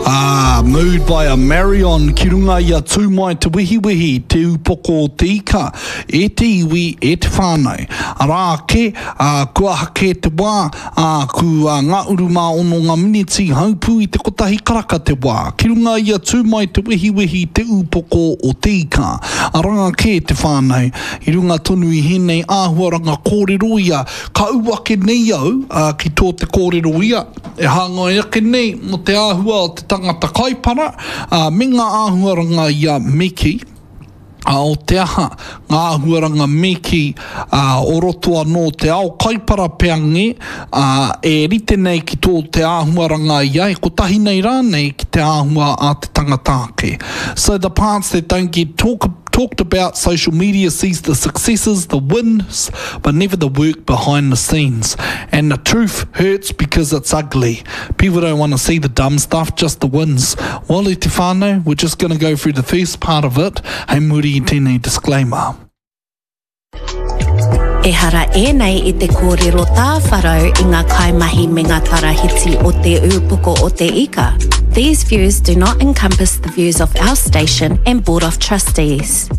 Ah, Mood by a Marion ki runga i a Tū Mai Te Wehiwehi, Te Upoko o Te Ika, e te iwi, e te whānau. Arā ake, ā, kua aha kē te wā, ā, ku ā, ngā uru mā ono ngā miniti, haupū i te kotahi karaka te wā. Ki runga i a Tū Mai Te Wehiwehi, Te Upoko o Te Ika. Arā kē te whānau, i runga tonu i hēnei āhuaranga kōrero ia, ka ū ake nei au, ā, ki tō te kōrero ia, E hāngai ake nei mō te āhua o te tangata kaipara, ā, me ngā āhuaranga ia me kī, ā, o te aha, ngā āhuaranga me kī, ā, o roto anō te ao kaipara pea nge, ā, e rite nei ki tō te āhuaranga ia, e kotahi nei rānei ki te āhua a te tangata ake. So the parts that don't get talk, talked about, social media sees the successes, the wins, but never the work behind the scenes. And the truth hurts because it's ugly. People don't want to see the dumb stuff, just the wins. Well, e te whānau, we're just going to go through the first part of it, hei muri i tēnei disclaimer. Ehara ēnei i te kōrero tāwharau i ngā kaimahi me ngā tarahiti o Te Ūpoko o Te Ika. These views do not encompass the views of our station and Board of Trustees.